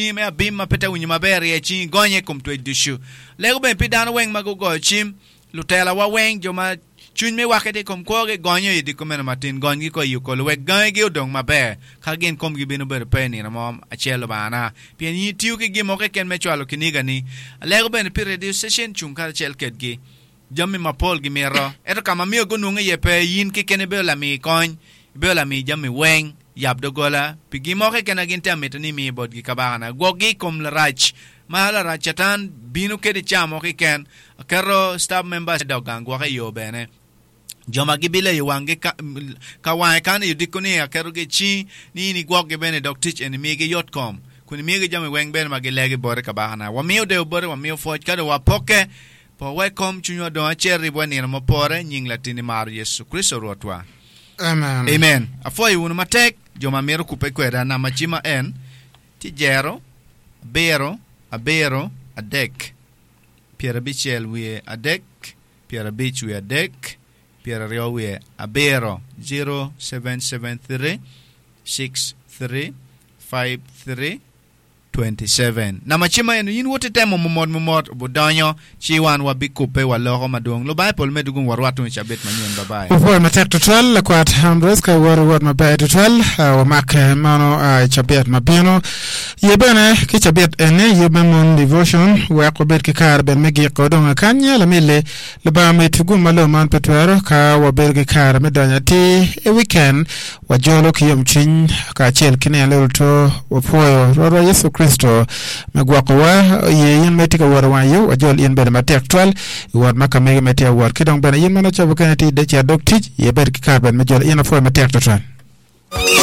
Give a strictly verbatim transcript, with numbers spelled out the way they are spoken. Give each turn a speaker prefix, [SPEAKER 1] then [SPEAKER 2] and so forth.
[SPEAKER 1] Me abim ma pe te winyo maber rye cingi gonye i kom twec ducu. Lego bene pi dano weng ma gugoyo cim, lutelawa weng, jo ma cwiny me wakke tye i kom kwogi, gonyo i odiko meno matin, gonygi ko i okolo wek gangigi odong maber, ka gin komgi bino bedo pe i nino mo acel, Lubangana, pien in itiyo ki gin mo keken me cwalo kinigani. Alego bene pi radio station cung karacel kedgi. Jami mapol gimito, ento ka ma myero gunwong iye pe, in keken ibedo lami kony, ibedo lami jami weng. Yab doggola pi gin mo keken ma gin tye ka mito ni imi botgi kabakana. Gwokgi i kom larac ma larac Catan bino kede ca mo keken. Aketo staff members me dog gang gwoke i yo bene. Jo ma gibileyo wanggi ka wange kan i odiko ni aketogi i cingi ni in igwokgi bene i dog tic eni migi yot kom kun imigi jami weng bene ma gilegi boti kabakana. Wamiyo deyo boti, wamiyo pwoc ka dong wapokke. Po wek kom cwinywa dong acel ribwa i nino mupore, nying Latinni maro Yecu Kricito Rwotwa.
[SPEAKER 2] Amen.
[SPEAKER 1] Amen. Apwoyo wunu matek jo ma mito kubbe kweda. Namba cimma en tye jero, abiro, abiro, adek, pyerabicel wiye adek, pyerabic wiye adek, pyeraryo wiye abiro, zero seven seven three six three five three twenty seven. Namba cimma eno in wot itemo mumot mumot obudonyo ci wan wabikubbe waloko madwong. Lubanga i polo medde gung warwat tung i cabit manyen. Bye bye.
[SPEAKER 2] Wapwoyo matek tutwal lakwat Ambrose ka iwot iwot maber tutwal. Wamake mano i cabit ma bino. Ye bene ki cabit eni yub me Moon Devotion wek wabed ki kare bene me giko dong akany lamili Lubanga mit gum ma lobo man pe twero ka wabedo ki kare me donyo atir i weekend Wajolo ki yomcwiny kacel ki nino luto wapwoyo Rwotwa Yecu Kricito me gwokowa. Oye in ma itye ka wot i wang yo, wajol in bene matek twal i wot ma ka mege ma itye ka wot. Ki dong bene in ma nongo cobo kene tye i cito dog tic, ye bed ki kare bene me jolo in. Apwoyo matek twatwal.